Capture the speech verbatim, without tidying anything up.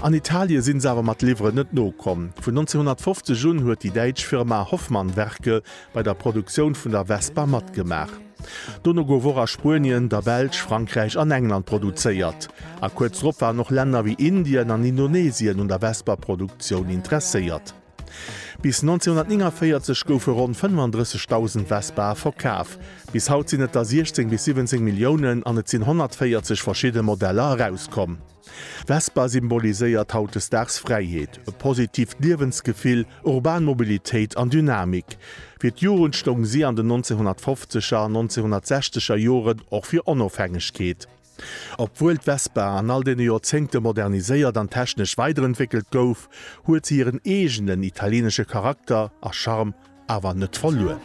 An Italie sinn se awer mat Liwweren net nokomm. Vun neunzehnhunnertfofzeg un huet déi däitsch Firma Hoffmann Werke bei der Produktioun vun der Vespa matgemaach. Dono gouf och a Spuenien, der Belsch, Frankräich an England produzéiert. A kuerz drop waren och Länner wéi Indien an Indonesien un der Vespa-Produktioun interesséiert. Bis neunzehnhunnertnéngavéierzeg goufe ronn fënnefandrëssegdausend Vespae verkaf. Bis haut sinn et der siechzéng bis siwwenzéng Milliounen an et sinn honnertvéierzeg verschidde Modeller erauskomm. D'Vespa symboliséiert hautdesdaags Fräiheet, e positiivt Liewensgefill, urban Mobilitéit an Dynamik. Fir d'Jugend stoung si an den neunzehnhunnertfofzeger an neunzehnhunnertsechzeger Joren och fir Onofhängegkeet. Obwuel d'Vespa an all deene Joerzéngte moderniséiert an technesch weiderentwéckelt gouf, huet se hiren eegenen italieenesche Charakter a Charme awer net verluer.